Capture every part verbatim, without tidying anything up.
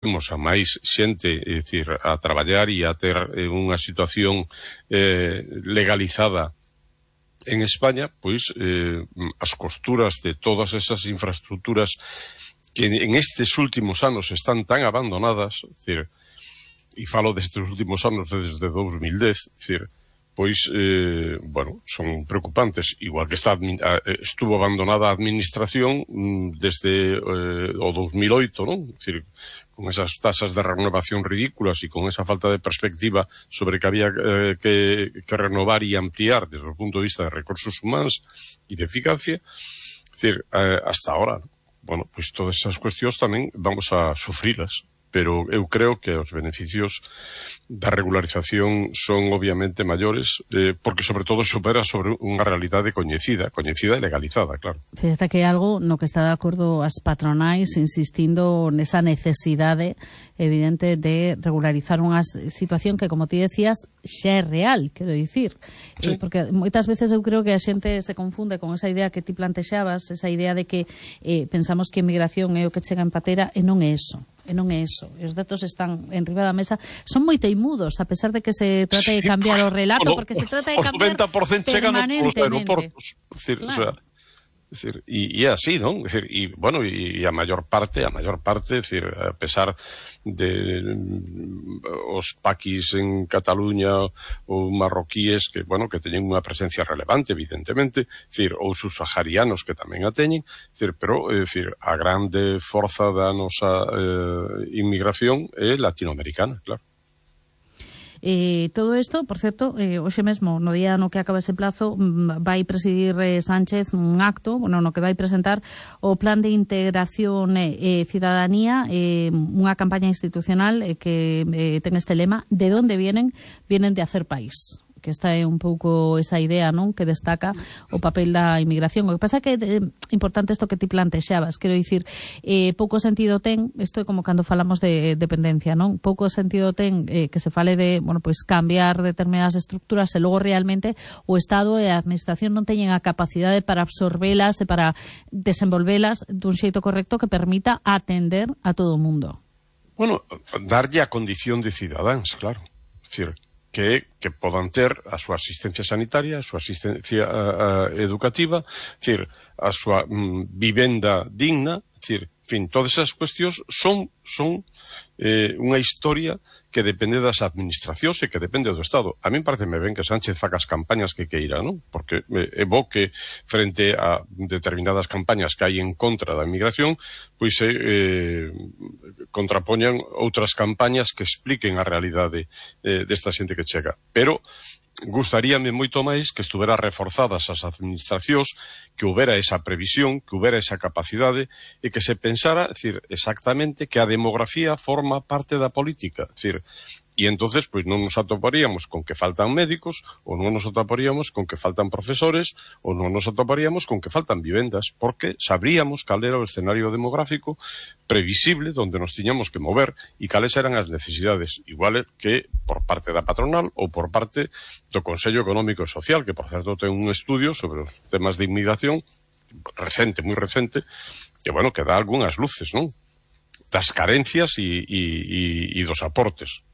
temos a máis xente, é dicir, a traballar e a ter eh, unha situación eh, legalizada en España, pois eh, as costuras de todas esas infraestructuras que en estes últimos anos están tan abandonadas, é dicir, e falo destes últimos anos desde dos mil dez, é dicir, pois, eh, bueno, son preocupantes, igual que está, estuvo abandonada a administración desde eh, o dos mil oito, non? É dicir, con esas tasas de renovación ridículas e con esa falta de perspectiva sobre que había eh, que, que renovar e ampliar desde o punto de vista de recursos humanos e de eficacia, é dicir, eh, hasta ahora, bueno, pois todas esas cuestións tamén vamos a sufrilas, pero eu creo que os beneficios da regularización son obviamente maiores, eh, porque sobre todo supera sobre unha realidade coñecida, coñecida e legalizada, claro. Fíjate que é algo no que está de acordo as patronais insistindo nesa necesidade evidente de regularizar unha situación que, como ti decías, xa é real, quero dicir. Sí. Eh, porque moitas veces eu creo que a xente se confunde con esa idea que ti plantexabas, esa idea de que eh, pensamos que a inmigración é o que chega en patera, e non é eso. E non é iso. Os datos están en riba da mesa. Son moi teimudos, a pesar de que se trata de cambiar sí, o relato, porque se trata de cambiar noventa por ciento chegan polos aeroportos. É dicir, claro. O sea, é dicir, e é así, non? É dicir, e, bueno, e a maior parte, a maior parte, é dicir, a pesar de mm, os paquis en Cataluña ou marroquíes que, bueno, que teñen unha presencia relevante, evidentemente, é dicir, ou subsaharianos que tamén a teñen, é dicir, pero, é dicir, a grande forza da nosa eh, inmigración é latinoamericana, claro. Eh, todo isto, por certo, eh, hoxe mesmo, no día no que acaba ese plazo, vai presidir eh, Sánchez un acto, bueno, no que vai presentar o Plan de Integración e eh, Cidadanía, eh, unha campaña institucional eh, que eh, ten este lema: de onde vienen? Vienen de hacer país. Que esta é un pouco esa idea, non, que destaca o papel da inmigración. O que pasa é que é importante isto que ti plantexabas, quero dicir, eh, pouco sentido ten, isto é como cando falamos de dependencia, non? Pouco sentido ten eh, que se fale de, bueno, pois cambiar determinadas estructuras e logo realmente o Estado e a Administración non teñen a capacidade para absorbelas e para desenvolvelas dun xeito correcto que permita atender a todo o mundo. Bueno, darlle a condición de cidadáns, claro. É dicir, que, que podan ter a súa asistencia sanitaria, a súa asistencia a, a, educativa, decir, a súa mm, vivenda digna, decir, en fin, todas esas cuestións son, son eh, unha historia que depende das administracións e que depende do Estado. A mí pareceme ben que Sánchez faga as campañas que queira, non? Porque é bo que frente a determinadas campañas que hai en contra da inmigración, pois se eh, contrapoñan outras campañas que expliquen a realidade eh, desta xente que chega. Pero gustaríame moito máis que estuvera reforzadas as administracións, que houbera esa previsión, que houbera esa capacidade e que se pensara, é dicir, exactamente que a demografía forma parte da política, é dicir, e entonces pois non nos atoparíamos con que faltan médicos, ou non nos atoparíamos con que faltan profesores, ou non nos atoparíamos con que faltan vivendas, porque sabríamos cal era o escenario demográfico previsible donde nos tiñamos que mover e cales eran as necesidades, igual que por parte da patronal ou por parte do Consello Económico e Social, que por certo ten un estudio sobre os temas de inmigración recente, moi recente, que, bueno, que dá algunhas luces, non? Das carencias e, e, e, e dos aportes.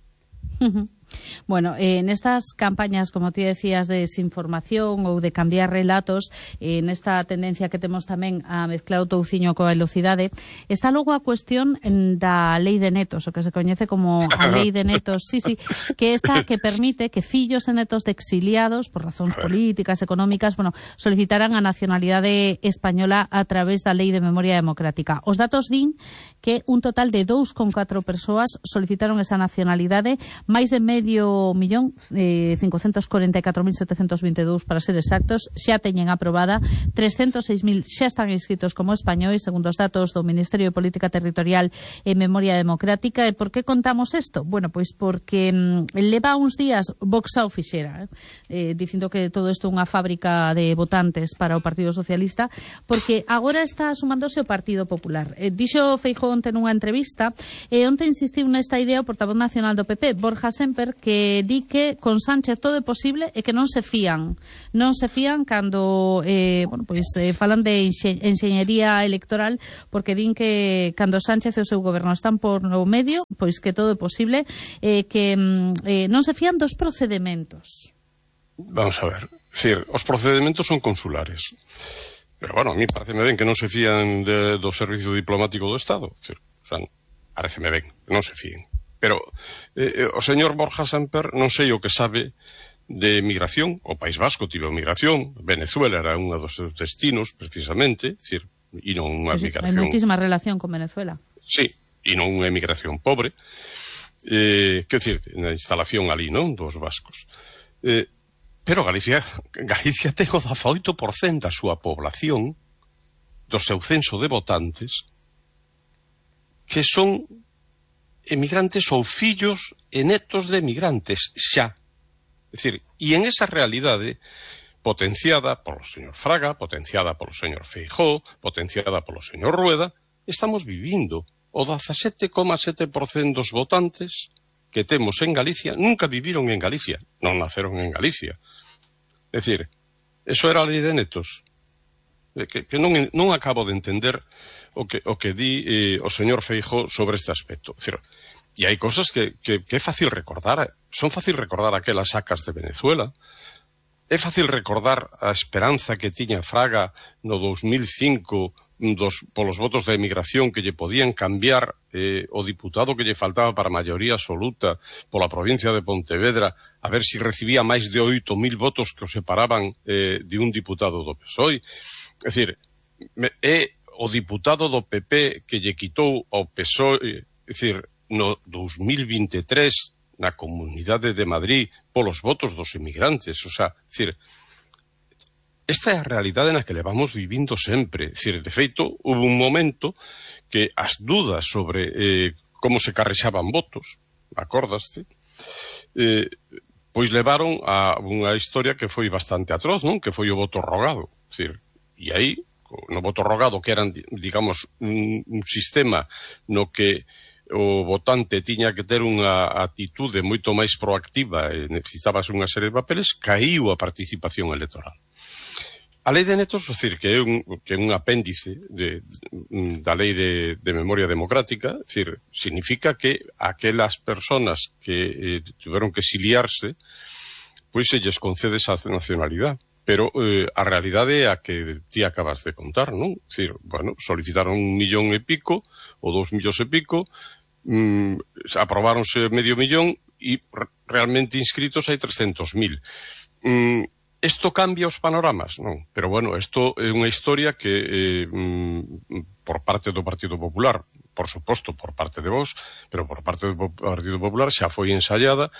Bueno, eh, nestas campañas, como ti decías, de desinformación ou de cambiar relatos, eh, nesta tendencia que temos tamén a mezclar o touciño coa velocidade, está logo a cuestión da lei de netos, o que se coñece como a lei de netos, sí, sí, que esta que permite que fillos e netos de exiliados por razóns políticas, económicas, bueno, solicitaran a nacionalidade española a través da lei de memoria democrática. Os datos din que un total de dous con catro persoas solicitaron esa nacionalidade, máis de medio millón, eh, cincocentos corenta e catro mil setecentos vinte e dous para ser exactos, xa teñen aprobada, trescentos seis mil xa están inscritos como españois, segundo os datos do Ministerio de Política Territorial e Memoria Democrática. E por que contamos isto? Bueno, pois porque mm, leva uns días Vox ao fixera, eh, dicindo que todo isto é unha fábrica de votantes para o Partido Socialista, porque agora está sumándose o Partido Popular. Eh, dixo Feijóo onte nunha entrevista, e onte insistiu nesta idea o portavoz nacional do P P, Borja Sémper, Samper, que di que con Sánchez todo é posible e que non se fían. Non se fían cando eh, bueno, pois, eh, falan de enxe enxeñería electoral, porque din que cando Sánchez e o seu goberno están por no medio, pois que todo é posible, eh, que eh, non se fían dos procedementos. Vamos a ver, decir, os procedementos son consulares. Pero, bueno, a mí pareceme ben que non se fían de, do servicio diplomático do Estado. Decir, o sea, pareceme ben, non se fíen. Pero eh, o señor Borja Samper non sei o que sabe de migración. O País Vasco tivo migración, Venezuela era un dos seus destinos, precisamente, decir, e non unha sí, sí, migración... Hai moitísima relación con Venezuela. Sí, e non unha emigración pobre. Eh, que decir, na instalación ali, non, dos vascos. Eh, Pero Galicia, Galicia ten o dezaoito por cento da súa población, do seu censo de votantes, que son emigrantes ou fillos e netos de emigrantes, xa. É dicir, e en esa realidade, potenciada polo señor Fraga, potenciada polo señor Feijóo, potenciada polo señor Rueda, estamos vivindo. O dezasete coma sete por cento dos votantes que temos en Galicia nunca viviron en Galicia, non naceron en Galicia. É dicir, eso era a lei de netos, que, que non, non acabo de entender o que, o que di eh, o señor Feijóo sobre este aspecto. É dicir, e hai cosas que, que, que é fácil recordar, son fácil recordar aquelas sacas de Venezuela, é fácil recordar a esperanza que tiña Fraga no dos mil cinco dos, polos votos da emigración que lle podían cambiar eh, o diputado que lle faltaba para a maioría absoluta pola provincia de Pontevedra, a ver si recibía máis de oito mil votos que o separaban eh, de un diputado do P S O E. É dicir, é o diputado do P P que lle quitou ao P S O E, é dicir, no dos mil vinte e tres na Comunidade de Madrid polos votos dos emigrantes. O sea, é dicir, esta é a realidade na que levamos vivindo sempre. É dicir, de feito, houve un momento que as dudas sobre eh, como se carrexaban votos, acordaste, eh, pois levaron a unha historia que foi bastante atroz, non? Que foi o voto rogado. É dicir, e aí, no voto rogado, que eran, digamos, un, un sistema no que o votante tiña que ter unha atitude moito máis proactiva e necesitabas unha serie de papeles, caíu a participación electoral. A lei de netos, é dicir, que é un, que é un apéndice de, de, da lei de, de memoria democrática, é dicir, significa que aquelas personas que eh, tiveron que exiliarse, pois se lles concede esa nacionalidade. Pero eh, a realidade é a que ti acabas de contar, non? É dicir, bueno, solicitaron un millón e pico, ou dous millóns e pico, mm, aprobáronse medio millón, e realmente inscritos hai trescentos mil. Mm, Isto cambia os panoramas? Non. Pero, bueno, isto é unha historia que, eh, por parte do Partido Popular, por suposto, por parte de vos, pero por parte do Partido Popular xa foi ensaiada,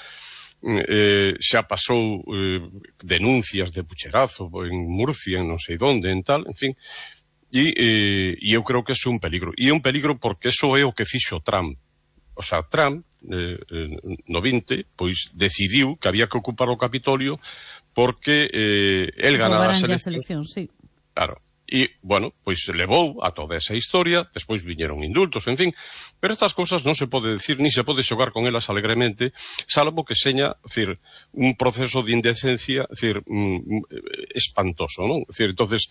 eh, xa pasou eh, denuncias de pucherazo en Murcia, en non sei onde, en tal, en fin, e, eh, e eu creo que é un peligro. E é un peligro porque eso é o que fixo Trump. O sea, Trump, eh, no vinte, pois decidiu que había que ocupar o Capitolio porque eh, el ganara as eleccións. Sí. Claro. E, bueno, pois levou a toda esa historia, despois viñeron indultos, en fin, pero estas cousas non se pode decir, ni se pode xogar con elas alegremente, salvo que seña, decir, un proceso de indecencia, decir, mm, espantoso, non? Decir, entonces,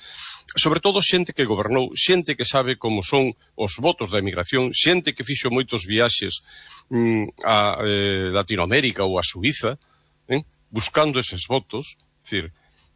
sobre todo xente que gobernou, xente que sabe como son os votos da emigración, xente que fixo moitos viaxes mm, a eh, Latinoamérica ou a Suiza, eh? buscando eses votos, decir,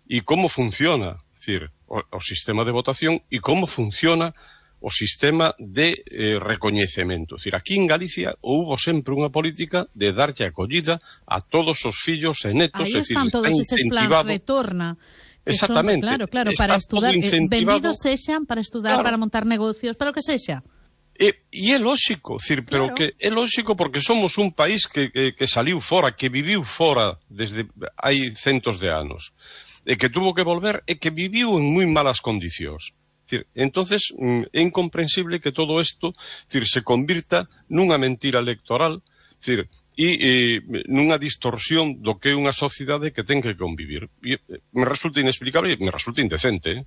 e como funciona, decir, o, o sistema de votación e como funciona o sistema de eh, recoñecemento. Decir, aquí en Galicia houbo sempre unha política de darlle acollida a todos os fillos e netos. Aí están todos eses plans retorna. Exactamente. Son, claro, claro, para estudar, eh, vendidos sexan para estudar, claro, para montar negocios, para o que sexa. E, e é lóxico, decir, pero claro, que é lóxico porque somos un país que, que, que saliu fora, que viviu fora desde hai centos de anos, e que tuvo que volver e que viviu en moi malas condicións. Decir, entonces é incomprensible que todo isto, decir, se convirta nunha mentira electoral, decir, e eh, nunha distorsión do que é unha sociedade que ten que convivir. E, me resulta inexplicable e me resulta indecente, eh?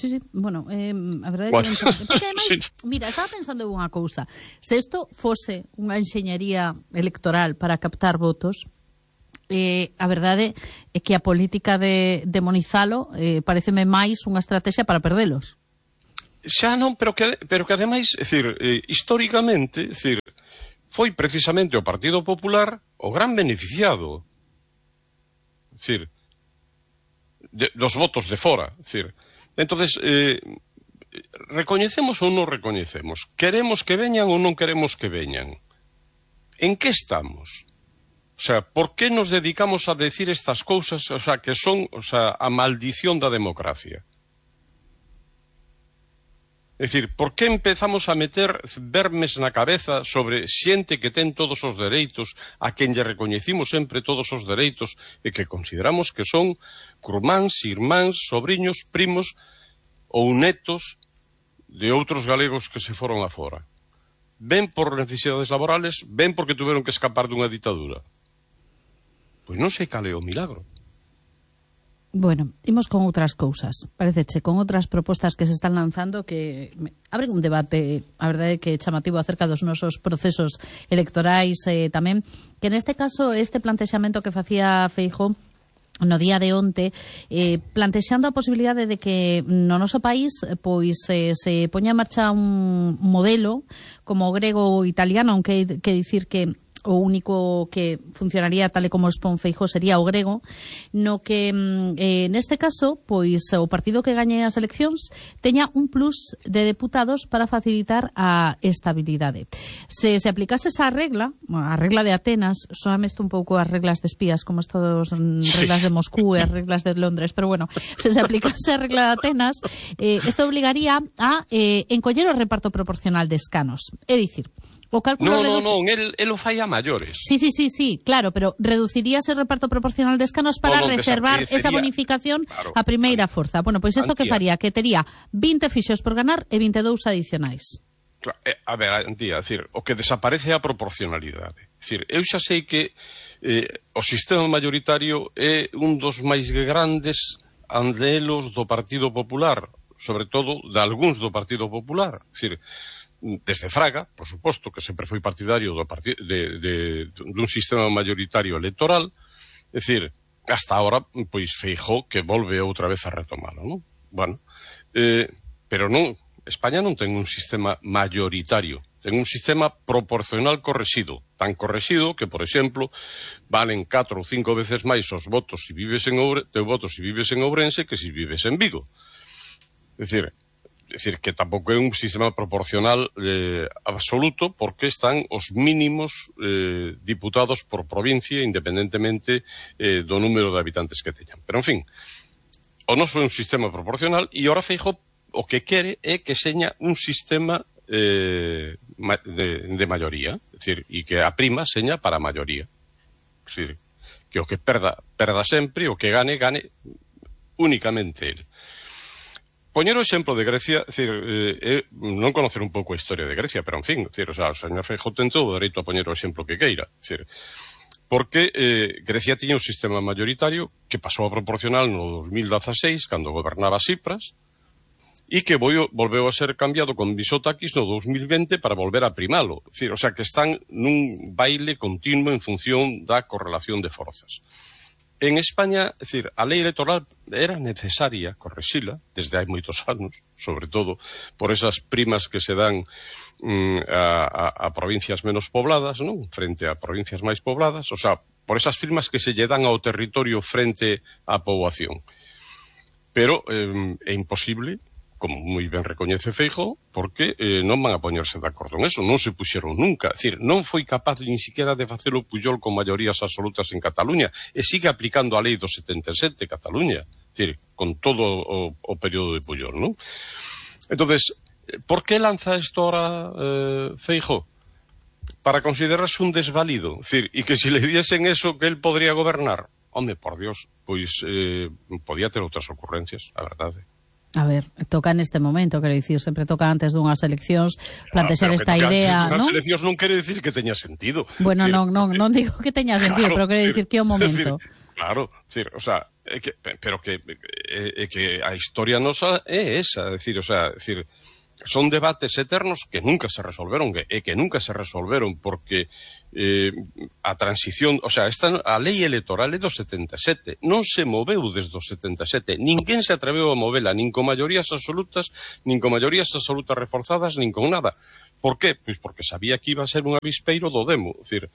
Sí, sí, bueno, eh, a verdade bueno. que... Porque ademais, sí. mira, estaba pensando en unha cousa. Se isto fose unha enxeñería electoral para captar votos, eh, a verdade é que a política de demonizalo eh, pareceme máis unha estrategia para perdelos. Xa non, pero que, pero que ademais, é dicir, eh, históricamente, é dicir, foi precisamente o Partido Popular o gran beneficiado, é dicir, de, dos votos de fora, é dicir, entonces, eh, recoñecemos ou non recoñecemos, queremos que veñan ou non queremos que veñan, en que estamos? O sea, por que nos dedicamos a decir estas cousas, o sea, que son, o sea, a maldición da democracia? É dicir, por que empezamos a meter vermes na cabeza sobre xente que ten todos os dereitos, a quen lle recoñecimos sempre todos os dereitos e que consideramos que son curmáns, irmáns, sobriños, primos ou netos de outros galegos que se foron afora? Ven por necesidades laborales, ven porque tuveron que escapar dunha ditadura. Pois non sei cal é o milagro. Bueno, imos con outras cousas. Pareceche, con outras propostas que se están lanzando que abren un debate, a verdade que é chamativo acerca dos nosos procesos electorais eh, tamén, que neste caso este plantexamento que facía Feijóo no día de onte, eh, plantexando a posibilidade de que no noso país pois eh, se poña en marcha un modelo como o grego ou italiano, aunque que dicir que o único que funcionaría tal e como expón Feijóo sería o grego, no que eh, neste caso, pois o partido que gañe as eleccións teña un plus de deputados para facilitar a estabilidade. Se se aplicase esa regla, a regla de Atenas, soame isto un pouco as reglas de espías, como isto dos reglas de Moscú e as reglas de Londres, pero bueno, se se aplicase a regla de Atenas, eh, isto obligaría a eh, encoller o reparto proporcional de escanos. É dicir, o cálculo no, reduce... no, non, el, el o fai a maiores. Sí, sí, sí, sí, claro, pero reduciría ese reparto proporcional de escanos para no, no, reservar esa bonificación claro, a primeira forza. Bueno, pois isto que Antía. faría? Que tería vinte fixos por ganar e vinte e dous adicionais. Claro, eh, a ver, Antía, é dicir, o que desaparece é a proporcionalidade. É dicir, eu xa sei que eh, o sistema mayoritario é un dos máis grandes andelos do Partido Popular, sobre todo de algúns do Partido Popular. É dicir, desde Fraga, por suposto, que sempre foi partidario do parti de, de, dun sistema mayoritario electoral, é dicir, hasta ahora, pois Feijóo que volve outra vez a retomalo, non? Bueno, eh, pero non, España non ten un sistema mayoritario, ten un sistema proporcional correxido, tan correxido que, por exemplo, valen catro ou cinco veces máis os votos se vives en Ourense, teu votos se vives en Ourense que se vives en Vigo. É dicir, É dicir, que tampouco é un sistema proporcional eh, absoluto porque están os mínimos eh, diputados por provincia independentemente eh, do número de habitantes que teñan. Pero, en fin, o noso é un sistema proporcional e ora Feijóo o que quere é que seña un sistema eh, de, de maioría, é dicir, e que a prima seña para a maioría. É dicir, que o que perda, perda sempre, o que gane, gane únicamente ele. Poñer o exemplo de Grecia, é dicir, eh, non conocer un pouco a historia de Grecia, pero en fin, é dicir, o, sea, o señor Feijóo ten todo o dereito a poñer o exemplo que queira, é dicir, porque eh, Grecia tiña un sistema mayoritario que pasou a proporcional no dos mil dezaseis, cando gobernaba Tsipras, e que volveu, volveu a ser cambiado con Mitsotakis no dos mil vinte para volver a primalo, é dicir, o sea, que están nun baile continuo en función da correlación de forzas. En España, é dicir, a lei electoral era necesaria correxila desde hai moitos anos, sobre todo por esas primas que se dan mm, a, a, a provincias menos pobladas, non? Frente a provincias máis pobladas, o sea, por esas primas que se lle dan ao territorio frente á poboación. Pero eh, é imposible, como moi ben recoñece Feijóo, porque eh, non van a poñerse de acordo en eso, non se puxeron nunca. É dicir, non foi capaz ni siquiera de facelo Pujol con maiorías absolutas en Cataluña, e sigue aplicando a lei do setenta e sete Cataluña, é dicir, con todo o, o período de Pujol, non? Entonces, por que lanza isto ahora eh, Feijóo? Para considerarse un desvalido, é dicir, e que se le diesen eso que él podría gobernar. Home, por Dios, pois eh, podía ter outras ocurrencias, a verdade. A ver, toca neste momento, quero dicir, sempre toca antes dunhas eleccións plantexar ah, esta idea, non? Unhas eleccións non quere dicir que teña sentido. Bueno, decir, non, non, non digo que teña sentido, claro, pero quero dicir que é o momento. Decir, claro, decir, o sea, é que, pero que, é, é que a historia nosa é esa, é dicir, o sea, é dicir, son debates eternos que nunca se resolveron, e que nunca se resolveron porque eh, a transición, o sea, esta, a lei electoral é do setenta e sete, non se moveu desde o setenta e sete, ninguén se atreveu a movela, nin con maiorías absolutas, nin con maiorías absolutas reforzadas, nin con nada. Por qué? Pois porque sabía que iba a ser un avispeiro do demo, é dicir,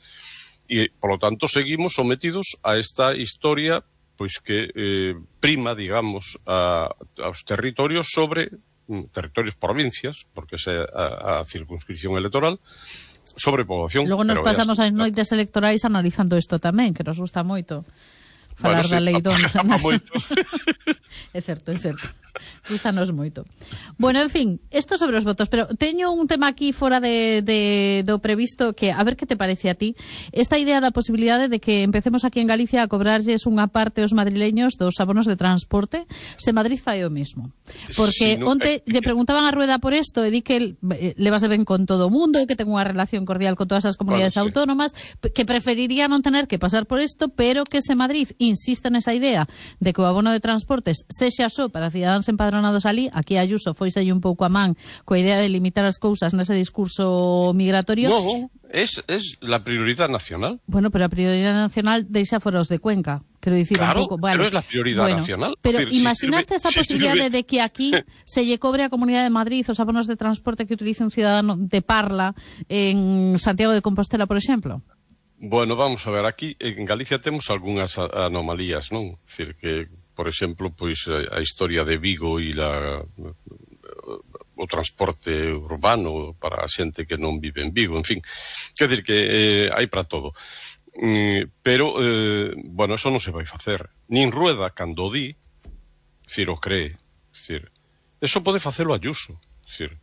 e, por lo tanto, seguimos sometidos a esta historia pois que eh, prima, digamos, a, aos territorios sobre territorios provincias, porque esa é a, a circunscripción electoral, sobre poboación. Logo nos pasamos as noites electorais analizando isto tamén, que nos gusta moito falar bueno, da sí, lei don moito. É certo, é certo. Gustanos moito. Bueno, en fin, isto sobre os votos, pero teño un tema aquí fora de, de, do previsto que, a ver que te parece a ti, esta idea da posibilidade de que empecemos aquí en Galicia a cobrarlles unha parte aos madrileños dos abonos de transporte, se Madrid fai o mesmo. Porque sí, no, onte eh, lle preguntaban a Rueda por isto e di que levase ben con todo o mundo e que ten unha relación cordial con todas as comunidades bueno, sí. autónomas, que preferiría non tener que pasar por isto, pero que se Madrid insiste nesa idea de que o abono de transportes sexa só para cidadáns empadronados ali, aquí a Ayuso foiselle un pouco a man coa idea de limitar as cousas nese discurso migratorio. No, es, es la prioridad nacional. Bueno, pero a prioridad nacional deixa fora os de Cuenca. Quero dicir claro, un pouco, vale. Pero es la prioridad bueno, nacional. Pero decir, imaginaste si esta sirve, posibilidade si de que aquí se lle cobre a Comunidade de Madrid os abonos de transporte que utilice un cidadano de Parla en Santiago de Compostela, por exemplo? Bueno, vamos a ver, aquí en Galicia temos algunhas anomalías, non? É dicir, que, por exemplo, pois a historia de Vigo e la, o transporte urbano para a xente que non vive en Vigo, en fin, quer dizer que eh, hai para todo. Mm, pero, eh, bueno, eso non se vai facer. Nin Rueda, cando di, si o cree, dicir, eso pode facelo Ayuso, dicir,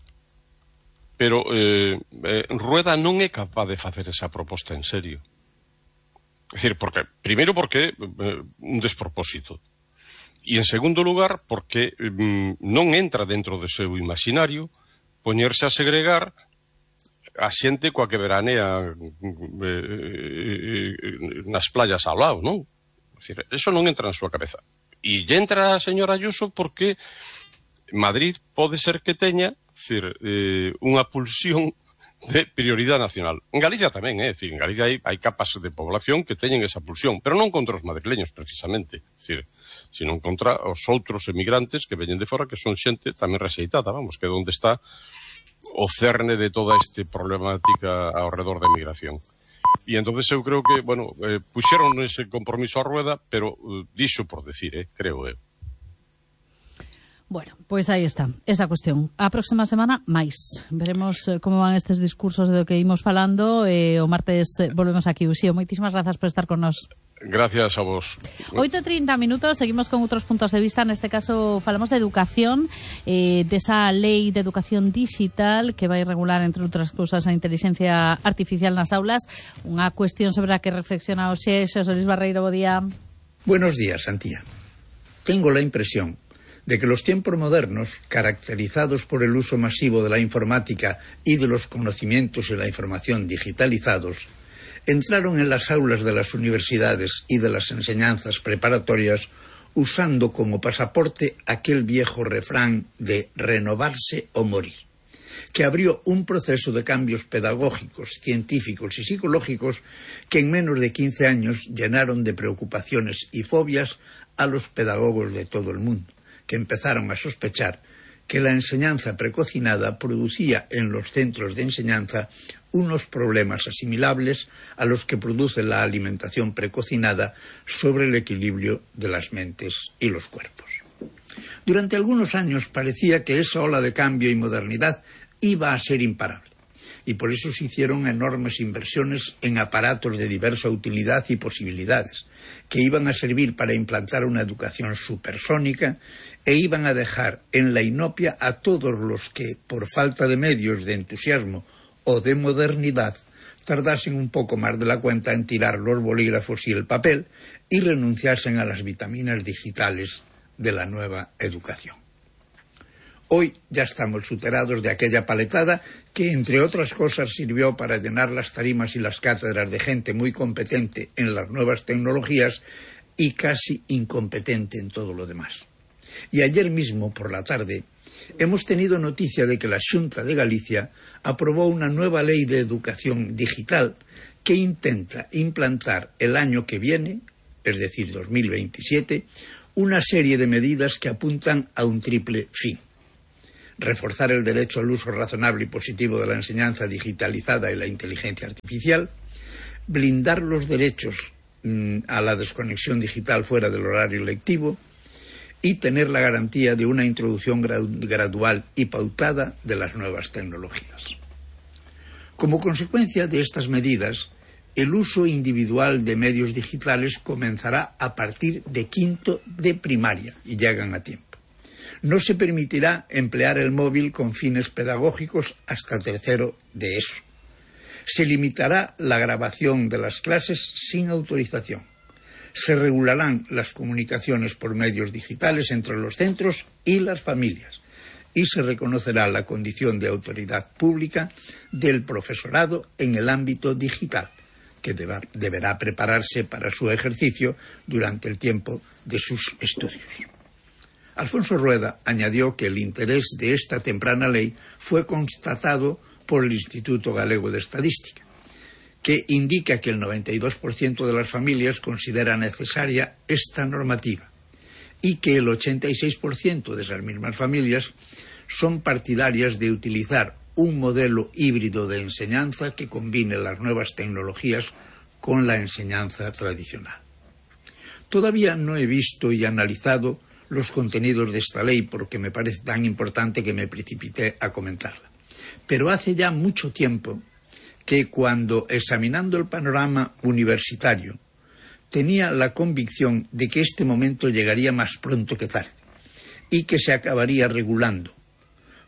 pero eh, eh, Rueda non é capaz de facer esa proposta en serio. É dicir, porque, primeiro porque eh, un despropósito. E en segundo lugar, porque mm, non entra dentro do seu imaginario poñerse a segregar a xente coa que veranea eh, eh, nas playas ao lado, non? É dicir, eso non entra na súa cabeza. E entra a señora Ayuso porque Madrid pode ser que teña, decir, eh, unha pulsión de prioridade nacional. En Galicia tamén, é eh? dicir, en Galicia hai, hai capas de población que teñen esa pulsión, pero non contra os madrileños, precisamente, dicir, sino contra os outros emigrantes que veñen de fora, que son xente tamén rexeitada, vamos, que é onde está o cerne de toda esta problemática ao redor da emigración. E entonces eu creo que, bueno, eh, puxeron ese compromiso a Rueda, pero eh, dixo por decir, eh, creo eu. Eh. Bueno, pois aí está, esa cuestión. A próxima semana, máis. Veremos eh, como van estes discursos do que imos falando. Eh, o martes eh, volvemos aquí. Uxío, moitísimas grazas por estar con nós. Gracias a vos. oito e trinta minutos, seguimos con outros puntos de vista. Neste caso falamos de educación, eh, desa lei de educación digital que vai regular, entre outras cousas, a inteligencia artificial nas aulas. Unha cuestión sobre a que reflexiona o Xexo. Solís Barreiro, bo día. Buenos días, Antía. Tengo la impresión de que los tiempos modernos, caracterizados por el uso masivo de la informática y de los conocimientos y la información digitalizados, entraron en las aulas de las universidades y de las enseñanzas preparatorias usando como pasaporte aquel viejo refrán de renovarse o morir, que abrió un proceso de cambios pedagógicos, científicos y psicológicos que en menos de quince años llenaron de preocupaciones y fobias a los pedagogos de todo el mundo, que empezaron a sospechar que la enseñanza precocinada producía en los centros de enseñanza unos problemas asimilables a los que produce la alimentación precocinada sobre el equilibrio de las mentes y los cuerpos. Durante algunos años parecía que esa ola de cambio y modernidad iba a ser imparable, y por eso se hicieron enormes inversiones en aparatos de diversa utilidad y posibilidades, que iban a servir para implantar una educación supersónica e iban a dejar en la inopia a todos los que, por falta de medios, de entusiasmo o de modernidad, tardasen un poco más de la cuenta en tirar los bolígrafos y el papel y renunciasen a las vitaminas digitales de la nueva educación. Hoy ya estamos superados de aquella paletada que, entre otras cosas, sirvió para llenar las tarimas y las cátedras de gente muy competente en las nuevas tecnologías y casi incompetente en todo lo demás. Y ayer mismo, por la tarde, hemos tenido noticia de que la Xunta de Galicia aprobó una nueva ley de educación digital que intenta implantar el año que viene, es decir, dos mil veintisiete, una serie de medidas que apuntan a un triple fin. Reforzar el derecho al uso razonable y positivo de la enseñanza digitalizada y la inteligencia artificial, blindar los derechos mmm, a la desconexión digital fuera del horario lectivo y tener la garantía de una introducción gradual y pautada de las nuevas tecnologías. Como consecuencia de estas medidas, el uso individual de medios digitales comenzará a partir de quinto de primaria y llegan a tiempo. No se permitirá emplear el móvil con fines pedagógicos hasta tercero de ESO. Se limitará la grabación de las clases sin autorización. Se regularán las comunicaciones por medios digitales entre los centros y las familias. Y se reconocerá la condición de autoridad pública del profesorado en el ámbito digital, que deba, deberá prepararse para su ejercicio durante el tiempo de sus estudios. Alfonso Rueda añadió que el interés de esta temprana ley fue constatado por el Instituto Galego de Estadística, que indica que el noventa y dos por ciento de las familias considera necesaria esta normativa y que el ochenta y seis por ciento de esas mismas familias son partidarias de utilizar un modelo híbrido de enseñanza que combine las nuevas tecnologías con la enseñanza tradicional. Todavía no he visto y analizado los contenidos de esta ley porque me parece tan importante que me precipité a comentarla. Pero hace ya mucho tiempo que cuando, examinando el panorama universitario, tenía la convicción de que este momento llegaría más pronto que tarde y que se acabaría regulando,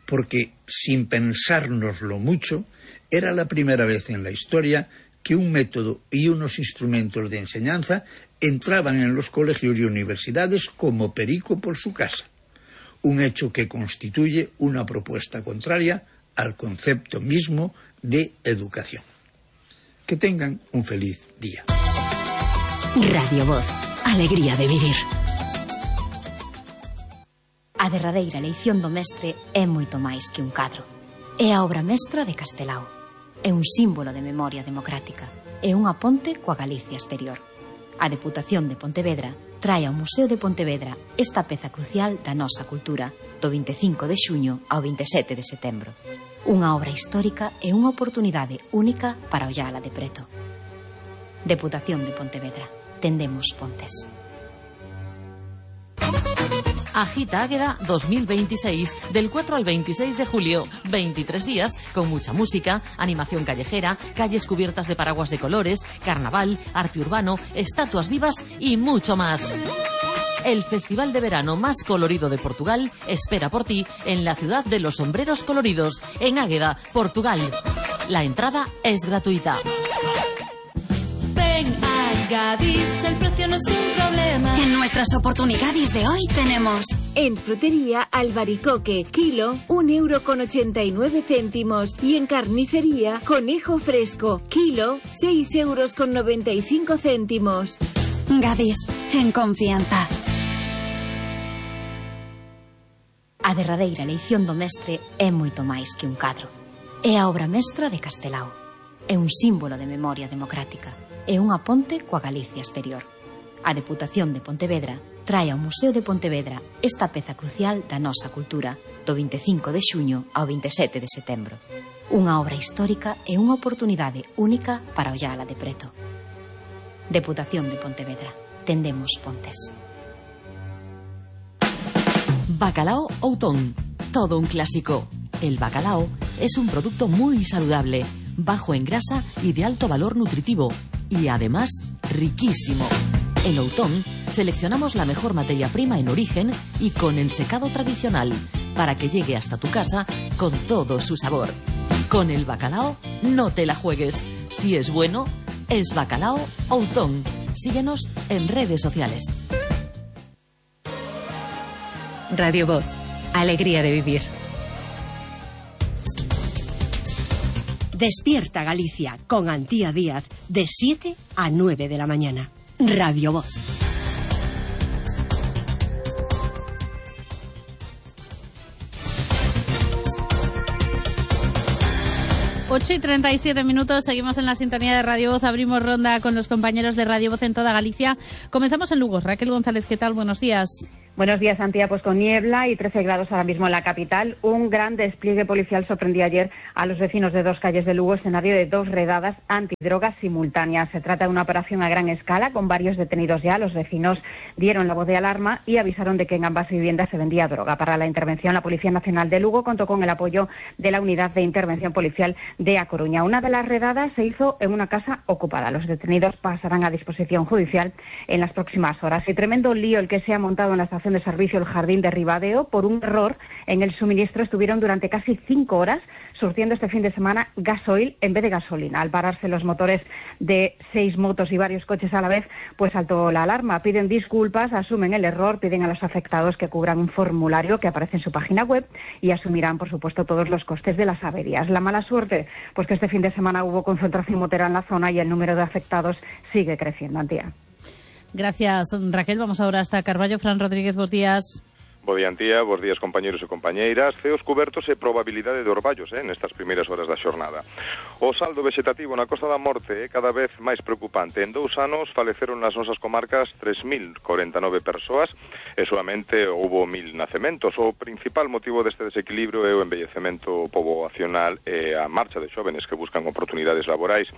porque, sin pensárnoslo mucho, era la primera vez en la historia que un método y unos instrumentos de enseñanza entraban en los colegios y universidades como perico por su casa, un hecho que constituye una propuesta contraria al concepto mismo de educación. Que tengan un feliz día. Radio Voz, alegría de vivir. A derradeira eleición do mestre é moito máis que un cadro. É a obra mestra de Castelao. É un símbolo de memoria democrática. É unha ponte coa Galicia exterior. A Deputación de Pontevedra trae ao Museo de Pontevedra esta peza crucial da nosa cultura do vinte e cinco de xuño ao vinte e sete de setembro. Unha obra histórica e unha oportunidade única para ollala de preto. Deputación de Pontevedra. Tendemos pontes. Agita Águeda dos mil veintiséis, del cuatro al veintiséis de julio. veintitrés días con mucha música, animación callejera, calles cubiertas de paraguas de colores, carnaval, arte urbano, estatuas vivas y mucho más. El festival de verano más colorido de Portugal espera por ti en la ciudad de los sombreros coloridos, en Águeda, Portugal. La entrada es gratuita. Ven a Gadis, el precio no es un problema. En nuestras oportunidades de hoy tenemos... En frutería albaricoque, kilo, un euro con ochenta y nueve céntimos. Y en carnicería, conejo fresco, kilo, seis euros con noventa y cinco céntimos. Gadis, en confianza. A derradeira eleición do mestre é moito máis que un cadro. É a obra mestra de Castelao. É un símbolo de memoria democrática. É unha ponte coa Galicia exterior. A Deputación de Pontevedra trae ao Museo de Pontevedra esta peza crucial da nosa cultura do vinte e cinco de xuño ao vinte e sete de setembro. Unha obra histórica e unha oportunidade única para ollala de preto. Deputación de Pontevedra. Tendemos pontes. Bacalao Outón, todo un clásico. El bacalao es un producto muy saludable, bajo en grasa y de alto valor nutritivo, y además riquísimo. En Outón seleccionamos la mejor materia prima en origen y con ensecado tradicional, para que llegue hasta tu casa con todo su sabor. Con el bacalao no te la juegues. Si es bueno, es Bacalao Outón. Síguenos en redes sociales. Radio Voz, alegría de vivir. Despierta Galicia con Antía Díaz de siete a nueve de la mañana. Radio Voz. ocho y treinta y siete minutos, seguimos en la sintonía de Radio Voz, abrimos ronda con los compañeros de Radio Voz en toda Galicia. Comenzamos en Lugo. Raquel González, ¿qué tal? Buenos días. Buenos días, Antía. Pues con niebla y trece grados ahora mismo en la capital. Un gran despliegue policial sorprendió ayer a los vecinos de dos calles de Lugo, escenario de dos redadas antidrogas simultáneas. Se trata de una operación a gran escala, con varios detenidos ya. Los vecinos dieron la voz de alarma y avisaron de que en ambas viviendas se vendía droga. Para la intervención, la Policía Nacional de Lugo contó con el apoyo de la Unidad de Intervención Policial de A Coruña. Una de las redadas se hizo en una casa ocupada. Los detenidos pasarán a disposición judicial en las próximas horas. Y tremendo lío el que se ha montado en la estación de servicio El Jardín de Ribadeo. Por un error en el suministro estuvieron durante casi cinco horas surtiendo este fin de semana gasoil en vez de gasolina. Al pararse los motores de seis motos y varios coches a la vez, pues saltó la alarma. Piden disculpas, asumen el error, piden a los afectados que cubran un formulario que aparece en su página web y asumirán, por supuesto, todos los costes de las averías. La mala suerte, pues que este fin de semana hubo concentración motera en la zona y el número de afectados sigue creciendo. Antía. Gracias, Raquel. Vamos ahora hasta Carballo. Fran Rodríguez, buenos días. Bo día, Antía, bos días, compañeros e compañeiras. Ceos cubertos e probabilidade de orballos eh, nestas primeiras horas da xornada. O saldo vegetativo na Costa da Morte é cada vez máis preocupante. En dous anos faleceron nas nosas comarcas tres mil cuarenta e nove persoas e solamente houbo mil nacementos. O principal motivo deste desequilibrio é o envellecemento poboacional e a marcha de xóvenes que buscan oportunidades laborais.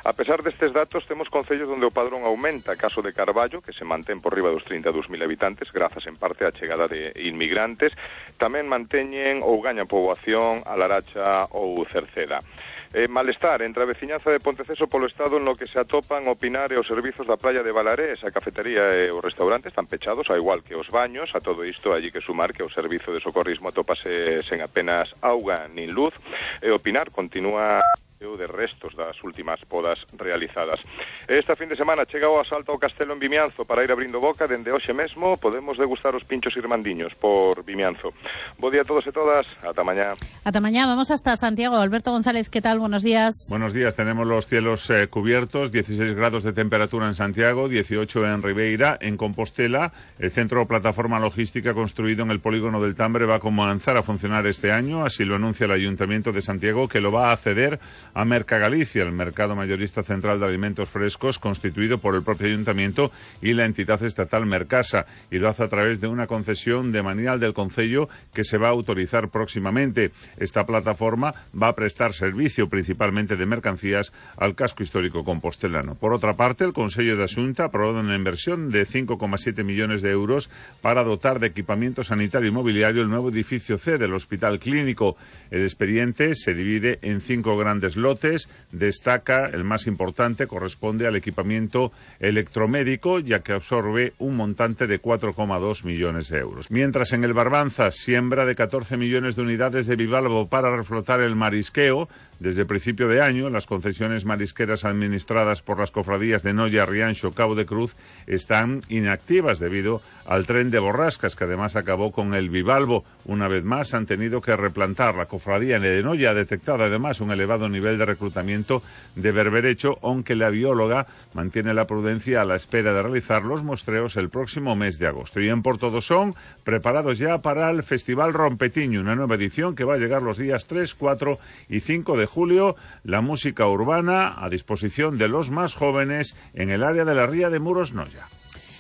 A pesar destes datos, temos concellos onde o padrón aumenta. Caso de Carballo, que se mantén por riba dos trinta e dous mil habitantes, grazas en parte á chegada de inmigrantes. Tamén manteñen ou gañan poboación a Laracha ou Cerceda. Eh, malestar entre a veciñanza de Ponteceso polo estado no que se atopan Opinar e os servizos da praia de Balarés. A cafetería e o restaurante están pechados, ao igual que os baños. A todo isto, allí que sumar que o servizo de socorrismo atópase sen apenas auga nin luz. E Opinar continúa de restos das últimas podas realizadas. Esta fin de semana chega o asalto ao Castelo en Vimianzo para ir abrindo boca. Dende hoxe mesmo podemos degustar os pinchos irmandiños por Vimianzo. Bo día a todos e todas, ata mañá. Ata mañá, vamos hasta Santiago. Alberto González, ¿qué tal? Buenos días. Buenos días, tenemos los cielos eh, cubiertos, dieciséis grados de temperatura en Santiago, dieciocho en Ribeira, en Compostela. El centro plataforma logística construido en el polígono del Tambre va a comenzar a funcionar este año, así lo anuncia el Ayuntamiento de Santiago, que lo va a ceder a Mercagalicia, el mercado mayorista central de alimentos frescos constituido por el propio Ayuntamiento y la entidad estatal Mercasa, y lo hace a través de una concesión de manial del Concello que se va a autorizar próximamente. Esta plataforma va a prestar servicio principalmente de mercancías al casco histórico compostelano. Por otra parte, el Consello de Xunta aprobó una inversión de cinco coma siete millones de euros para dotar de equipamiento sanitario y mobiliario el nuevo edificio C del Hospital Clínico. El expediente se divide en cinco grandes lotes. Destaca el más importante, corresponde al equipamiento electromédico, ya que absorbe un montante de cuatro coma dos millones de euros. Mientras en el Barbanza, siembra de catorce millones de unidades de bivalvo para reflotar el marisqueo. Desde el principio de año, las concesiones marisqueras administradas por las cofradías de Noia, Rianxo, Cabo de Cruz están inactivas debido al tren de borrascas, que además acabó con el bivalvo. Una vez más han tenido que replantar. La cofradía de Noia ha detectado además un elevado nivel de reclutamiento de berberecho, aunque la bióloga mantiene la prudencia a la espera de realizar los muestreos el próximo mes de agosto. Y en Portodosón, preparados ya para el Festival Rompetiño, una nueva edición que va a llegar los días tres, cuatro y cinco de julio, la música urbana a disposición de los más jóvenes en el área de la Ría de Muros Noia.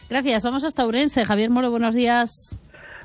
Gracias, vamos hasta Ourense. Javier Moro, buenos días.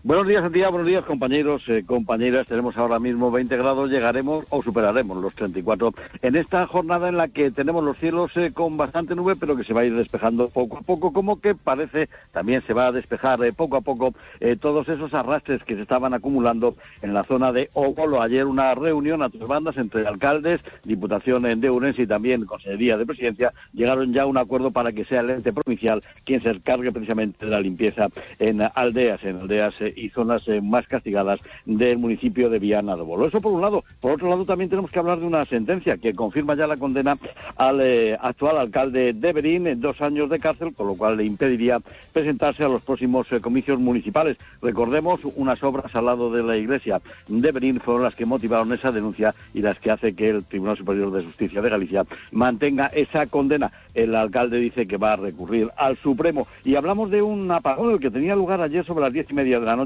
Buenos días, Santiago, buenos días, compañeros, eh, compañeras. Tenemos ahora mismo veinte grados, llegaremos o superaremos los treinta y cuatro en esta jornada en la que tenemos los cielos eh, con bastante nube, pero que se va a ir despejando poco a poco, como que parece también se va a despejar eh, poco a poco eh, todos esos arrastres que se estaban acumulando en la zona de Ógolo. Ayer una reunión a tres bandas entre alcaldes, Diputación de Ourense y también Consejería de Presidencia, llegaron ya a un acuerdo para que sea el ente provincial quien se encargue precisamente de la limpieza en aldeas, en aldeas eh, y zonas eh, más castigadas del municipio de Viana do Bolo. Eso por un lado. Por otro lado, también tenemos que hablar de una sentencia que confirma ya la condena al eh, actual alcalde de Berín en dos años de cárcel, con lo cual le impediría presentarse a los próximos eh, comicios municipales. Recordemos, unas obras al lado de la iglesia de Berín fueron las que motivaron esa denuncia y las que hace que el Tribunal Superior de Justicia de Galicia mantenga esa condena. El alcalde dice que va a recurrir al Supremo. Y hablamos de un apagón el que tenía lugar ayer sobre las diez y media de la noche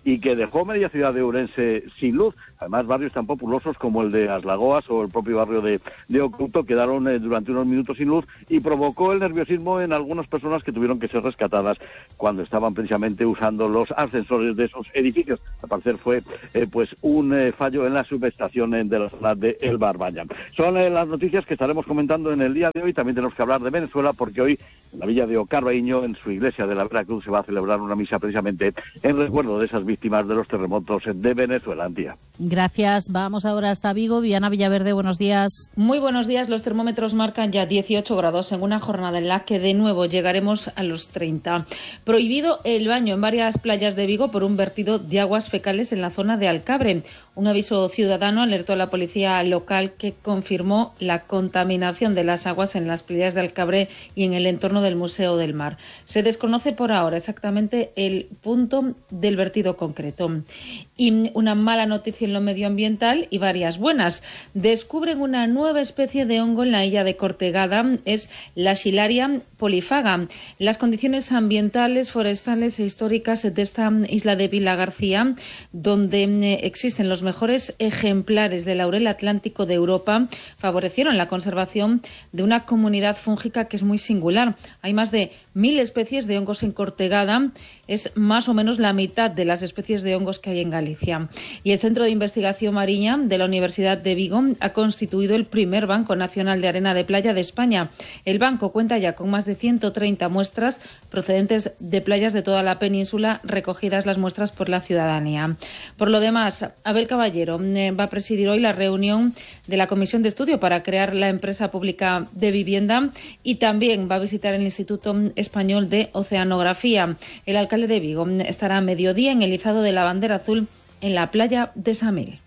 y que dejó media ciudad de Ourense sin luz. Además, barrios tan populosos como el de Aslagoas o el propio barrio de, de Oculto quedaron eh, durante unos minutos sin luz y provocó el nerviosismo en algunas personas que tuvieron que ser rescatadas cuando estaban precisamente usando los ascensores de esos edificios. Al parecer fue eh, pues un eh, fallo en la subestación eh, de la zona de El Barballa. Son eh, las noticias que estaremos comentando en el día de hoy. También tenemos que hablar de Venezuela porque hoy en la villa de Ocarbaíño, en su iglesia de la Veracruz, se va a celebrar una misa precisamente en recuerdo de esas víctimas de los terremotos de Venezuela. Antía. Gracias. Vamos ahora hasta Vigo. Viana Villaverde, buenos días. Muy buenos días. Los termómetros marcan ya dieciocho grados en una jornada en la que de nuevo llegaremos a los treinta. Prohibido el baño en varias playas de Vigo por un vertido de aguas fecales en la zona de Alcabre. Un aviso ciudadano alertó a la policía local, que confirmó la contaminación de las aguas en las playas de Alcabre y en el entorno del Museo del Mar. Se desconoce por ahora exactamente el punto del vertido concreto. Y una mala noticia en lo medioambiental y varias buenas. Descubren una nueva especie de hongo en la isla de Cortegada, es la Schilaria polyphaga. Las condiciones ambientales, forestales e históricas de esta isla de Vila García, donde existen los mejores ejemplares del laurel atlántico de Europa, favorecieron la conservación de una comunidad fúngica que es muy singular. Hay más de mil especies de hongos en Cortegada, es más o menos la mitad de las especies de hongos que hay en Galicia. Y el Centro de Investigación Marina de la Universidad de Vigo ha constituido el primer Banco Nacional de Arena de Playa de España. El banco cuenta ya con más de ciento treinta muestras procedentes de playas de toda la península, recogidas las muestras por la ciudadanía. Por lo demás, Abel Caballero eh, va a presidir hoy la reunión de la Comisión de Estudio para crear la empresa pública de vivienda y también va a visitar el Instituto Español de Oceanografía. El alcalde de Vigo estará a mediodía en el izado de la bandera azul en la playa de Samil.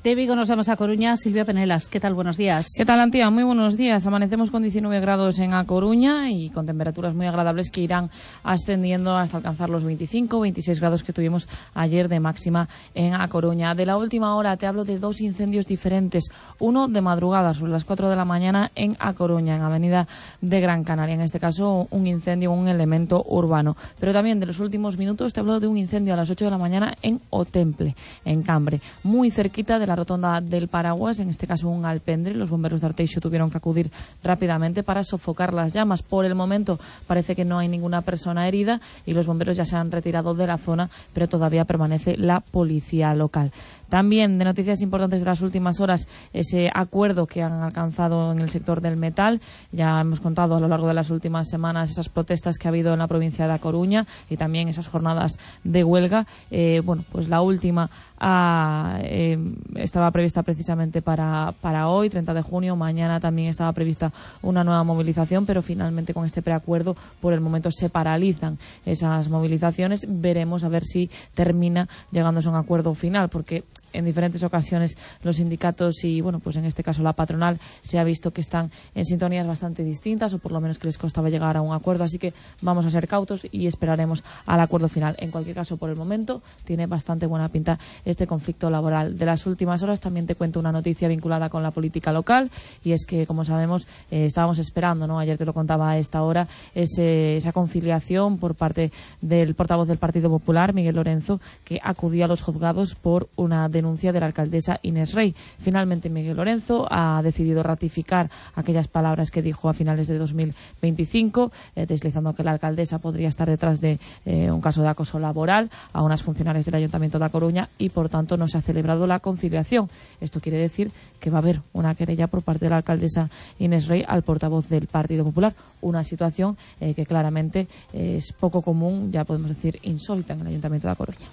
De Vigo nos vamos a Coruña. Silvia Penelas, ¿qué tal? Buenos días. ¿Qué tal, Antía? Muy buenos días. Amanecemos con diecinueve grados en A Coruña y con temperaturas muy agradables que irán ascendiendo hasta alcanzar los veinticinco, veintiséis grados que tuvimos ayer de máxima en A Coruña. De la última hora te hablo de dos incendios diferentes. Uno de madrugada, sobre las cuatro de la mañana, en A Coruña, en Avenida de Gran Canaria. En este caso, un incendio, un elemento urbano. Pero también de los últimos minutos te hablo de un incendio a las ocho de la mañana en Otemple, en Cambre, muy cerquita de la rotonda del Paraguas, en este caso un alpendre. Los bomberos de Arteixo tuvieron que acudir rápidamente para sofocar las llamas. Por el momento parece que no hay ninguna persona herida y los bomberos ya se han retirado de la zona, pero todavía permanece la policía local. También de noticias importantes de las últimas horas, ese acuerdo que han alcanzado en el sector del metal. Ya hemos contado a lo largo de las últimas semanas esas protestas que ha habido en la provincia de A Coruña y también esas jornadas de huelga. Eh, bueno, pues la última ah, eh, estaba prevista precisamente para, para hoy, treinta de junio. Mañana también estaba prevista una nueva movilización, pero finalmente con este preacuerdo por el momento se paralizan esas movilizaciones. Veremos a ver si termina llegándose a un acuerdo final, porque en diferentes ocasiones los sindicatos y, bueno, pues en este caso la patronal se ha visto que están en sintonías bastante distintas, o por lo menos que les costaba llegar a un acuerdo, así que vamos a ser cautos y esperaremos al acuerdo final. En cualquier caso, por el momento tiene bastante buena pinta este conflicto laboral. De las últimas horas también te cuento una noticia vinculada con la política local, y es que, como sabemos, eh, estábamos esperando, ¿no? Ayer te lo contaba a esta hora, ese, esa conciliación por parte del portavoz del Partido Popular, Miguel Lorenzo, que acudía a los juzgados por una denuncia de la alcaldesa Inés Rey. Finalmente Miguel Lorenzo ha decidido ratificar aquellas palabras que dijo a finales de dos mil veinticinco, eh, deslizando que la alcaldesa podría estar detrás de eh, un caso de acoso laboral a unas funcionarias del Ayuntamiento de A Coruña, y por tanto no se ha celebrado la conciliación. Esto quiere decir que va a haber una querella por parte de la alcaldesa Inés Rey al portavoz del Partido Popular, una situación eh, que claramente eh, es poco común, ya podemos decir insólita, en el Ayuntamiento de A Coruña.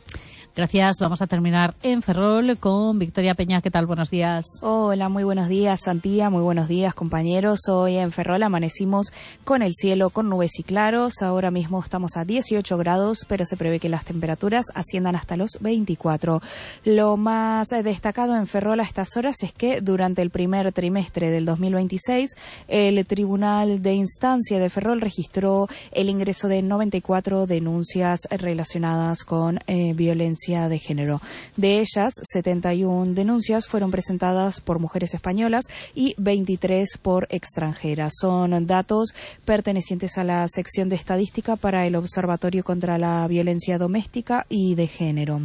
Gracias. Vamos a terminar en Ferrol con Victoria Peña. ¿Qué tal? Buenos días. Hola, muy buenos días, Santía. Muy buenos días, compañeros. Hoy en Ferrol amanecimos con el cielo con nubes y claros. Ahora mismo estamos a dieciocho grados, pero se prevé que las temperaturas asciendan hasta los veinticuatro. Lo más destacado en Ferrol a estas horas es que durante el primer trimestre del dos mil veintiséis, el Tribunal de Instancia de Ferrol registró el ingreso de noventa y cuatro denuncias relacionadas con eh, violencia de género. De ellas, setenta y una denuncias fueron presentadas por mujeres españolas y veintitrés por extranjeras. Son datos pertenecientes a la sección de estadística para el Observatorio contra la Violencia Doméstica y de Género.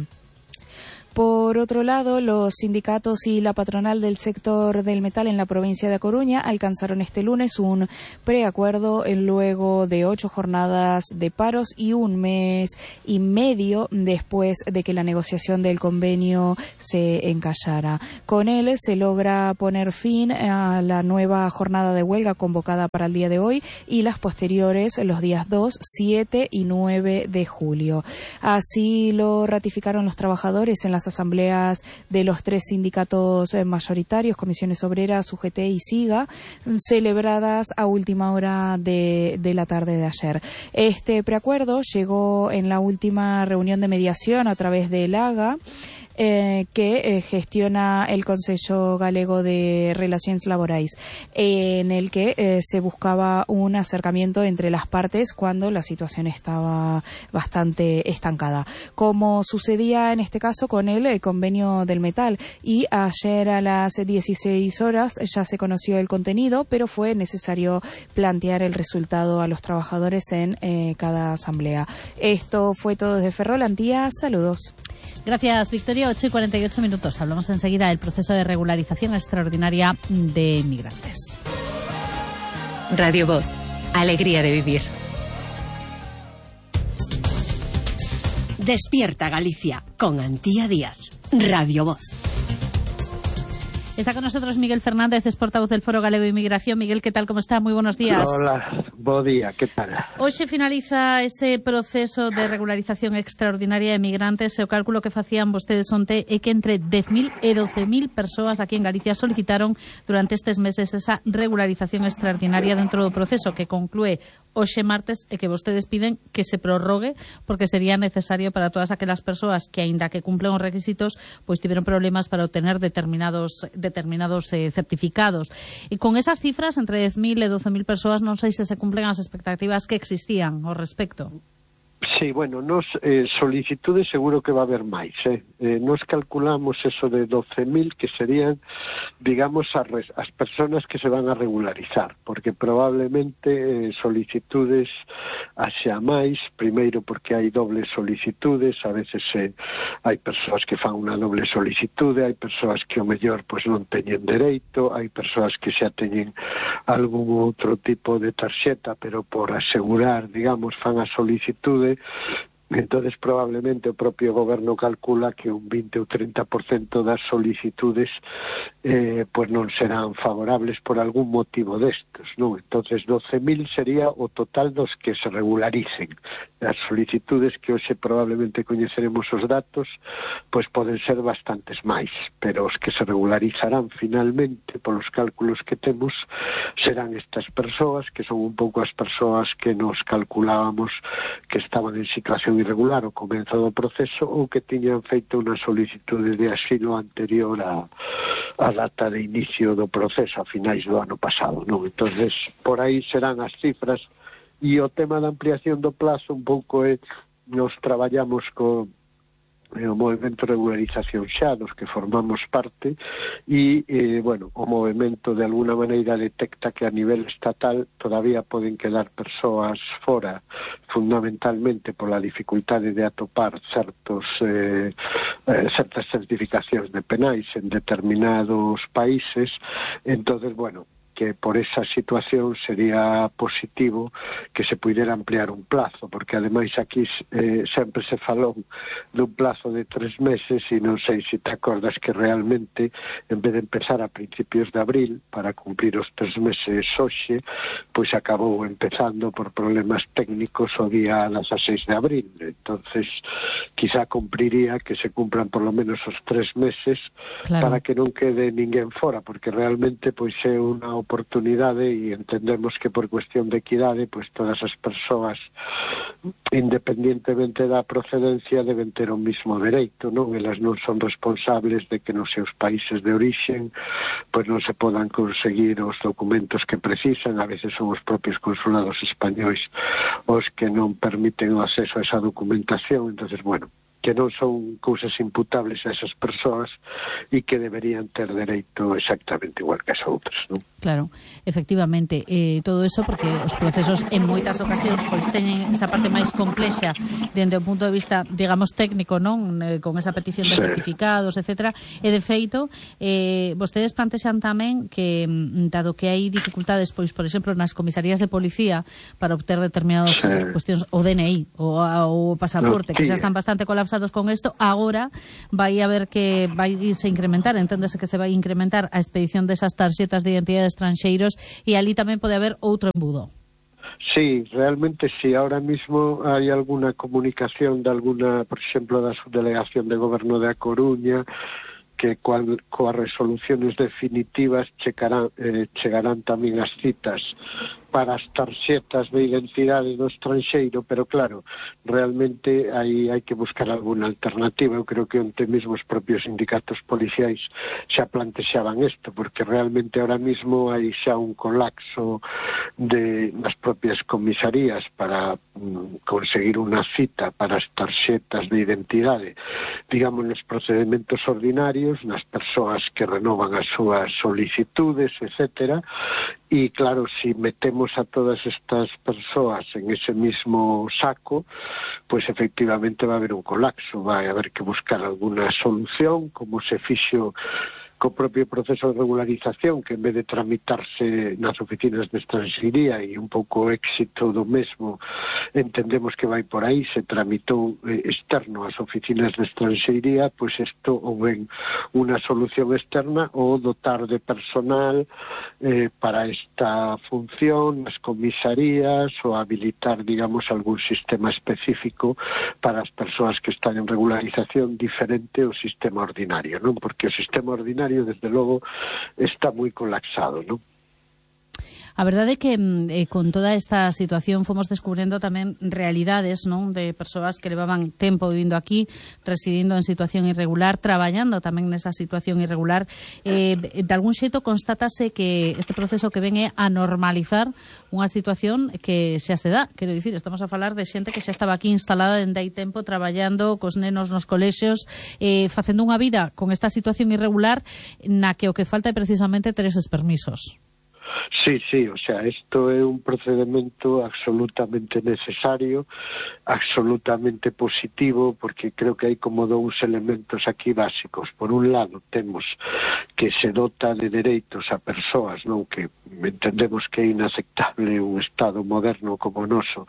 Por otro lado, los sindicatos y la patronal del sector del metal en la provincia de A Coruña alcanzaron este lunes un preacuerdo luego de ocho jornadas de paros y un mes y medio después de que la negociación del convenio se encallara. Con él se logra poner fin a la nueva jornada de huelga convocada para el día de hoy y las posteriores los días dos, siete y nueve de julio. Así lo ratificaron los trabajadores en las asambleas de los tres sindicatos mayoritarios, Comisiones Obreras, U G T y SIGA, celebradas a última hora de, de la tarde de ayer. Este preacuerdo llegó en la última reunión de mediación a través del A G A, Eh, que eh, gestiona el Consello Galego de Relacións Laborais, eh, en el que eh, se buscaba un acercamiento entre las partes cuando la situación estaba bastante estancada, como sucedía en este caso con el, el convenio del metal. Y ayer a las dieciséis horas ya se conoció el contenido, pero fue necesario plantear el resultado a los trabajadores en eh, cada asamblea. Esto fue todo desde Ferrol. Antía, saludos. Gracias, Victoria. ocho y cuarenta y ocho minutos. Hablamos enseguida del proceso de regularización extraordinaria de inmigrantes. Radio Voz. Alegría de vivir. Despierta Galicia con Antía Díaz. Radio Voz. Está con nosotros Miguel Fernández, es portavoz del Foro Galego de Inmigración. Miguel, ¿qué tal? ¿Cómo está? Muy buenos días. Hola, bo día, ¿qué tal? Hoy se finaliza ese proceso de regularización extraordinaria de migrantes. O cálculo que facían vostedes onte é que entre dez mil e doce mil persoas aquí en Galicia solicitaron durante estes meses esa regularización extraordinaria dentro do proceso que conclúe hoxe martes e que vostedes piden que se prorrogue porque sería necesario para todas aquelas persoas que, aínda que cumplen os requisitos, pois tiveron problemas para obtener determinados determinados eh, certificados. E con esas cifras, entre dez mil e doce mil persoas, non sei se se cumplen as expectativas que existían ao respecto. Sí, bueno, nos eh, solicitudes seguro que va a haber máis, eh? eh nos calculamos eso de doce mil que serían, digamos, as, as personas que se van a regularizar, porque probablemente eh, solicitudes haxa máis, primeiro porque hai dobles solicitudes, a veces eh, hai persoas que fan unha doble solicitude, hai persoas que o mellor pois non teñen dereito, hai persoas que xa teñen algún outro tipo de tarxeta, pero por asegurar, digamos, fan a solicitude. Entonces probablemente o propio goberno calcula que un veinte ou treinta por cento das solicitudes eh, pues non serán favorables por algún motivo destes, non? Entonces doce mil sería o total dos que se regularicen. As solicitudes que hoxe probablemente coñeceremos os datos, pois poden ser bastantes máis, pero os que se regularizarán finalmente polos cálculos que temos serán estas persoas, que son un pouco as persoas que nos calculábamos que estaban en situación irregular ao comezo do proceso ou que tiñan feito unha solicitude de asilo anterior a, a data de inicio do proceso a finais do ano pasado, non? Entonces, por aí serán as cifras. E o tema da ampliación do plazo un pouco é, nos traballamos co o movimento de regularización xa, dos que formamos parte, e, eh, bueno, o movimento de alguna maneira detecta que a nivel estatal todavía poden quedar persoas fora, fundamentalmente pola dificultade de atopar certos eh, eh, certas certificacións de penais en determinados países. Entonces, bueno, que por esa situación sería positivo que se puidera ampliar un plazo, porque ademais aquí eh, sempre se falou dun plazo de tres meses e non sei se te acordas que realmente en vez de empezar a principios de abril para cumplir os tres meses hoxe, pois acabou empezando por problemas técnicos o día dieciséis de abril. Entonces quizá cumpliría que se cumplan por lo menos os tres meses, claro, para que non quede ninguén fora, porque realmente pois é unha oportunidade e entendemos que por cuestión de equidade pois todas as persoas independientemente da procedencia deben ter o mismo dereito, non? Elas non son responsables de que nos seus países de orixen pois non se podan conseguir os documentos que precisan. A veces son os propios consulados españois os que non permiten o acceso a esa documentación. Entonces, bueno, que non son cousas imputables a esas persoas e que deberían ter dereito exactamente igual que as outras, non? Claro, efectivamente, eh, todo eso porque os procesos en moitas ocasións pois teñen esa parte máis complexa dende o punto de vista, digamos, técnico, non? Eh, con esa petición de sí. certificados, etcétera, e de feito, eh, vostedes plantexan tamén que, dado que hai dificultades, pois, por exemplo, nas comisarías de policía para obter determinadas sí. cuestións, o D N I, o, o pasaporte, no, que xa están bastante colapsados con isto, agora vai a ver que vai se incrementar, enténdese que se vai incrementar a expedición desas tarxetas de identidade estranxeiros e ali tamén pode haber outro embudo. Sí, realmente sí. Ahora mismo hay alguna comunicación de alguna, por exemplo, da subdelegación de goberno de A Coruña, que cual, coas resoluciones definitivas checarán, eh, chegarán tamén as citas para as tarxetas de identidade do estranxeiro, pero claro, realmente aí hai que buscar alguna alternativa. Eu creo que onte mesmo os propios sindicatos policiais xa plantexaban isto, porque realmente ahora mismo hai xa un colapso de, nas propias comisarías para mm, conseguir unha cita para as tarxetas de identidade, digamos, nos procedimentos ordinarios, nas persoas que renovan as súas solicitudes, etcétera. E claro, si metemos a todas estas persoas en ese mismo saco, pues efectivamente va a haber un colapso, vai a haber que buscar alguna solución, como se fixo co propio proceso de regularización, que en vez de tramitarse nas oficinas de estranxería e un pouco o éxito do mesmo, entendemos que vai por aí, se tramitou eh, externo ás oficinas de estranxería, pois isto ou ben unha solución externa ou dotar de personal eh, para esta función nas comisarías ou habilitar, digamos, algún sistema específico para as persoas que están en regularización diferente ao sistema ordinario, non? Porque o sistema ordinario desde logo está moi colapsado, non? A verdade é que eh, con toda esta situación fomos descubrindo tamén realidades, non, de persoas que levaban tempo vivindo aquí, residindo en situación irregular, traballando tamén nesa situación irregular. Eh, de algún xeito constátase que este proceso que ven é a normalizar unha situación que xa se dá. Quero dicir, estamos a falar de xente que xa estaba aquí instalada dende hai tempo, traballando cos nenos nos colexios, eh, facendo unha vida con esta situación irregular na que o que falta é precisamente ter eses permisos. Sí, sí, o sea, isto é un procedimento absolutamente necesario, absolutamente positivo, porque creo que hai como dous elementos aquí básicos. Por un lado, temos que se dota de dereitos a persoas, non, que entendemos que é inaceptable un Estado moderno como o noso,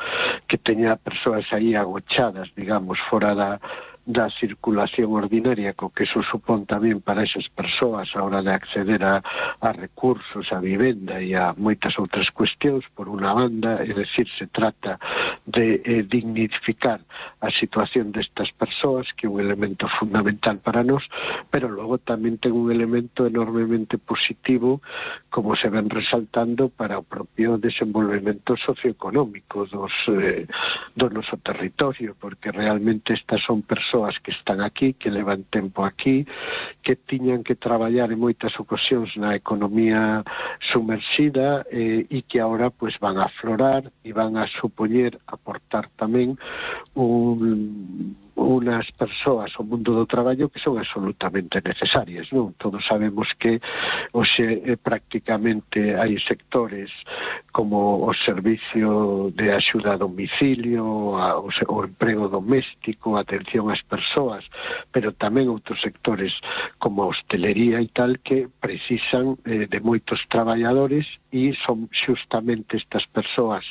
que teña persoas aí agochadas, digamos, fora da da circulación ordinaria, co que eso supón tamén para esas persoas a hora de acceder a, a recursos, a vivenda e a moitas outras cuestións. Por unha banda, é dicir, se trata de eh, dignificar a situación destas persoas, que é un elemento fundamental para nós, pero logo tamén ten un elemento enormemente positivo, como se ven resaltando, para o propio desenvolvemento socioeconómico dos, eh, do noso territorio, porque realmente estas son persoas que están aquí, que levan tempo aquí, que tiñan que traballar en moitas ocasións na economía sumerxida eh, e que agora pues, van a aflorar e van a supoñer aportar tamén un unas persoas ao mundo do traballo que son absolutamente necesarias, non? Todos sabemos que hoxe eh, prácticamente hai sectores como o servicio de axuda a domicilio, a, o, o emprego doméstico, a atención ás persoas, pero tamén outros sectores como a hostelería e tal que precisan eh, de moitos traballadores e son xustamente estas persoas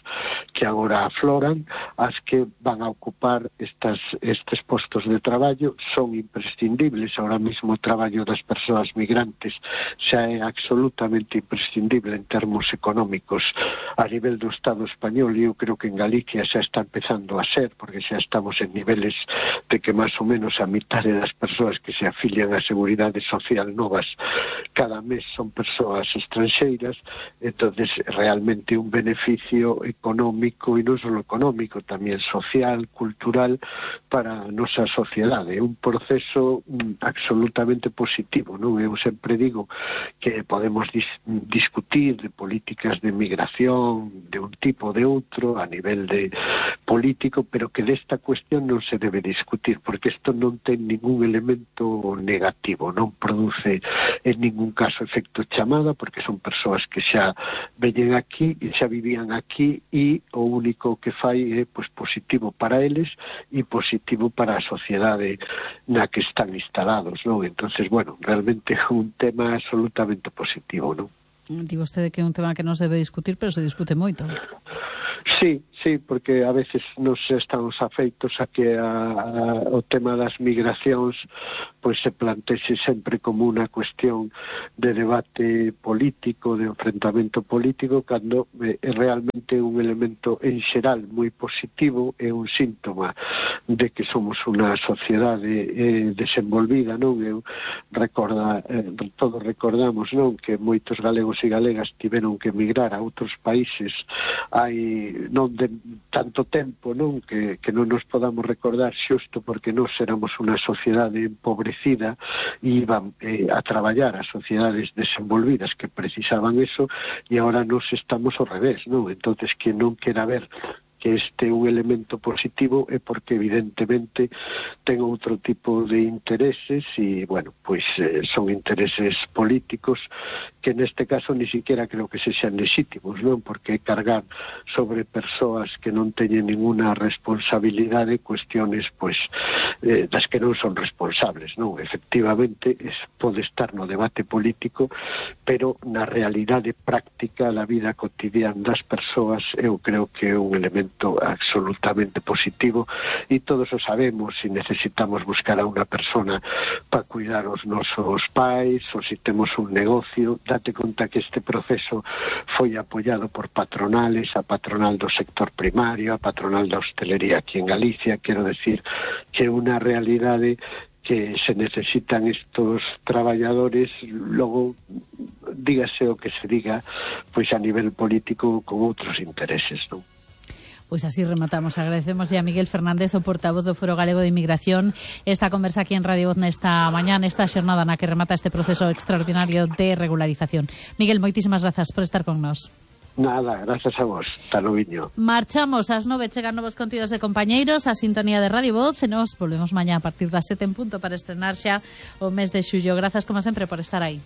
que agora afloran as que van a ocupar estas, estes postos de traballo. Son imprescindibles. Ahora mismo o traballo das persoas migrantes xa é absolutamente imprescindible en termos económicos a nivel do Estado español, e eu creo que en Galicia xa está empezando a ser, porque xa estamos en niveles de que máis ou menos a mitade das persoas que se afilian á Seguridade Social novas cada mes son persoas estranxeiras. entonces realmente un beneficio económico, e non só económico, tamén social, cultural, para a nosa sociedade. É un proceso mm, absolutamente positivo, non? Eu sempre digo que podemos dis discutir de políticas de migración de un tipo ou de outro a nivel de político, pero que desta cuestión non se debe discutir, porque isto non ten ningún elemento negativo, non produce en ningún caso efecto chamada, porque son persoas que xa veñen aquí e xa vivían aquí, e o único que fai é pois, positivo para eles e positivo para a sociedade na que están instalados, non? Entonces, bueno, realmente é un tema absolutamente positivo, non? Digo usted que é un tema que non se debe discutir, pero se discute moito. Sí, sí, porque a veces nos estamos afeitos a que a, a, o tema das migracións pois se plantexe sempre como unha cuestión de debate político, de enfrentamento político, cando é realmente un elemento en xeral moi positivo, é un síntoma de que somos unha sociedade eh, desenvolvida, non? Eu recorda, eh, todos recordamos, non, que moitos galegos e galegas tiveron que emigrar a outros países hai non de tanto tempo, non, que, que non nos podamos recordar xusto porque nós éramos unha sociedade empobrecida e iban eh, a traballar a sociedades desenvolvidas que precisaban eso, e agora nos estamos ao revés, non? Entonces, que non quera ver que este é un elemento positivo é porque evidentemente ten outro tipo de intereses e, bueno, pois eh, son intereses políticos que neste caso ni siquiera creo que se sean legítimos, non? Porque cargar sobre persoas que non teñen ninguna responsabilidade cuestiones, pois, eh, das que non son responsables, non? Efectivamente, es, pode estar no debate político, pero na realidade práctica da vida cotidiana das persoas eu creo que é un elemento absolutamente positivo, e todos o sabemos. Se necesitamos buscar a unha persona para cuidar os nosos pais, ou se temos un negocio, date conta que este proceso foi apoiado por patronales, a patronal do sector primario, a patronal da hostelería aquí en Galicia. Quero decir que é unha realidade que se necesitan estos traballadores, logo dígase o que se diga, pois a nivel político con outros intereses, non? Pois así rematamos. Agradecemos a Miguel Fernández, o portavoz do Foro Galego de Inmigración, esta conversa aquí en Radio Voz nesta mañá, nesta xornada na que remata este proceso extraordinario de regularización. Miguel, moitísimas grazas por estar con nós. Nada, gracias a vos. Hasta luego. Marchamos ás nove, chegan novos contidos de compañeiros, a sintonía de Radio Voz, e nos volvemos mañá a partir das sete en punto para estrenar xa o mes de xullo. Grazas, como sempre, por estar aí.